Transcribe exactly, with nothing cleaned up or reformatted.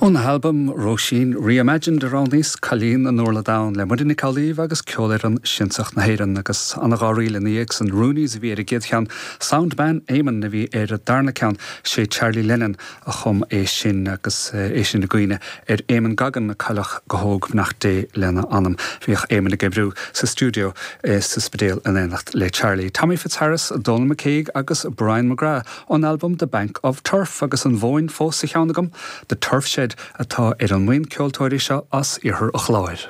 Óna halbam Róisín Reimagined a roghnaíos Cailín an Urlair Donn le Muireann Nic Amhlaoibh agus Ceolfhoireann Siansach na hÉireann agus an dhá ríl ina dhiaidh san Roonies a bhí ar an gcéad cheann Soundman Eamon a bhí ar an darna ceann sé Charlie Lennon a chum é sin agus é sin i gcuimhne ar Eamon Goggin a cailleadh go hóg beannacht Dé lena anam. Bhíodh Eamon ag oibriú sa stiúideo sa Spidéal in éineacht le Charlie. Tommy Fitzharris, Donal McCague agus Brian McGrath ón album The Bank of Turf agus an mhóin fós sa cheann agam, The Turf Shed atá ar an mbuíon ceoltóirí seo as iarthar an Chláir.